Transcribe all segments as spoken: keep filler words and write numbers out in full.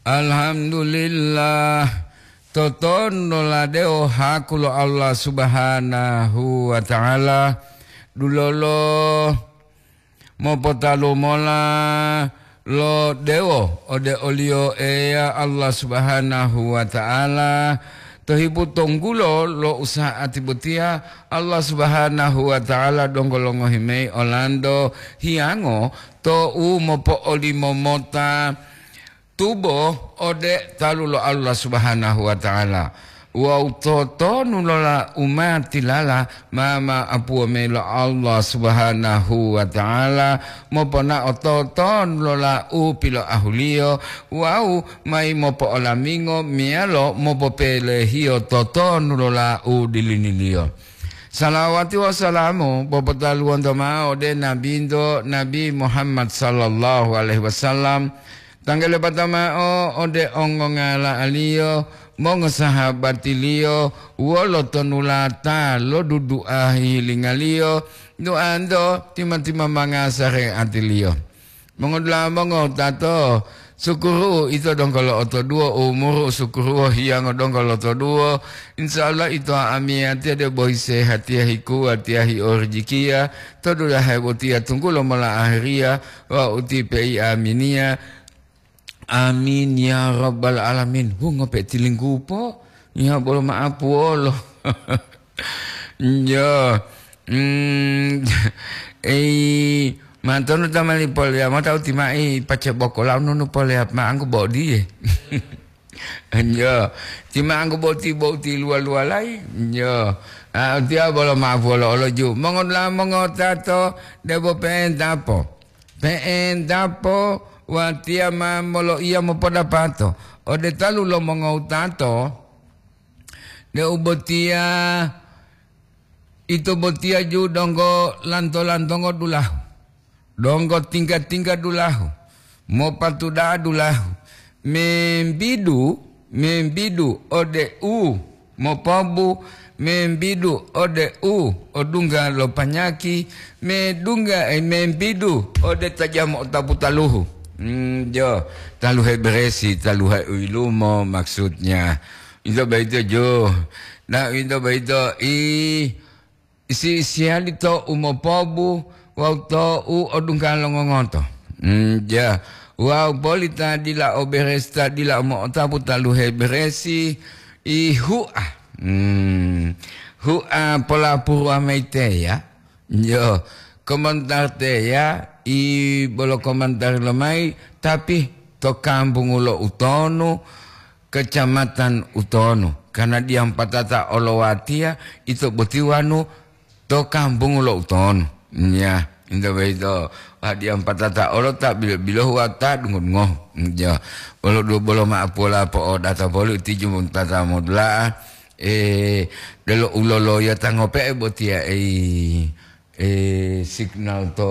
Alhamdulillah, totonuloladewo haku lo Allah Subhanahu wa Ta'ala, dulolo mopotalu mola lo dewo ode oliyo Eya Allah Subhanahu wa Ta'ala. To hipu tonggulo lo usa'ati botiya, Allah Subhanahu wa Ta'ala donggo longohi mayi olanto hiyango to'u mopo'olimo mota tubo ode talu lo Allah Subhanahu wa Ta'ala. Wawu totonu lola umatilala ma ma'apuwo mayi lo Allah Subhanahu wa Ta'ala, moponao totonu lola u piloahuliyo wawu mayi mopo'olamingo meyalo mopopelehiyo totonu lola u diliniliyo. Salawati wawu salamu popotaluwonto ma'o ode Nabinto, Nabi Muhammad sallallahu alaihi wasallam, tanggele patamao ode ongongala'aliyo, mongosahabatiliyo, wolo tonulata lo dudu'a hihilingaliyo, du'anto tima-timamanga sare'atiliyo. Mongodula'a mongowutato, sukuru ito donggo lo'otoduwo, umuru sukuru hiyango donggo lotoduwo. Insya Allah ito amiyatiya debo hisehatiya hikuwatiya hiorijikiya, to dulahe botiya tunggulo mola ahiriya, wawu utipe i aminiya. Amin ya rabbal alamin. Hu, ngope tilinggupo? Ya bolo ma'apuwolo. Njo. Mm, ei, mantonu tamani poleya mota uti mai pace bokola nunu poleya ma'angku bodiye. Njo. Ti ma'angku boti boti luwa-luwalayi. Njo. Ah, tiya bolo ma'apuwolo oloju. Mongola mongotato debo pe'entapo. Pe'entapo watiya ma moloiya mopodapato ode talu lo mongowutato, deu botiya ito botiya ju donggo lanto-lantongo dulahu, donggo tingga-tingga dulahu, mopatuda'a dulahu, membidu, membidu ode u mopobu, membidu ode u odungga lo panyaki, medungga, eh, membidu ode ta jamo otapu taluhu. Hmm, jo, taluhe beresi, taluhe u yilumo maksudnya. Ito boyito jo. Nah, ito boyito i isi-isiyali to u mopobu wawu to u odungga lo ngongoto. Mm, ja. Wawu poli ta dila o beresi, ta dila o mo'otapu taluhe beresi, i hu'a. Mm, hu'a polapuruwa mayi teya. Yo, komentar teya, i bolo komentar lomayi, tapi to kambungu lo utonu, kecamatan utonu, karena diyam patata olowatiya ito boti wanu to kambungu lo utonu. Nya, ito boyito, wah, diyam patata olo ta bilo-bilohu wa ta dungo-dungohu. Nya, bolo du-, bolo ma'apuwola po'odata poli uti jumung tata modula'a, eh, delo uloloya ta ngope'e botiya, ei, eh, signal to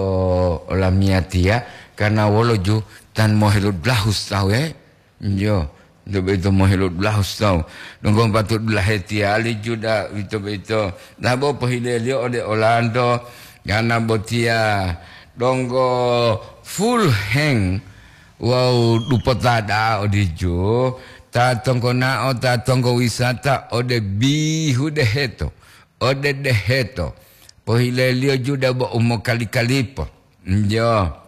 olamiyatiya, karena wolo ju tan moheludulahus tawu, eh. Iyo, ito boyito moheludulahu tawu. Donggo patu dulahe tiyali Juda, ito boyito. Dabo pohileliyo ode olanto, yana botiya donggo full hang wawu dupota da'a odiju, ta tonggonao, ta tonggo wisata ode bihu deheto, ode deheto. Pohileliyo Juda bo umokali-kalipo. Iyo.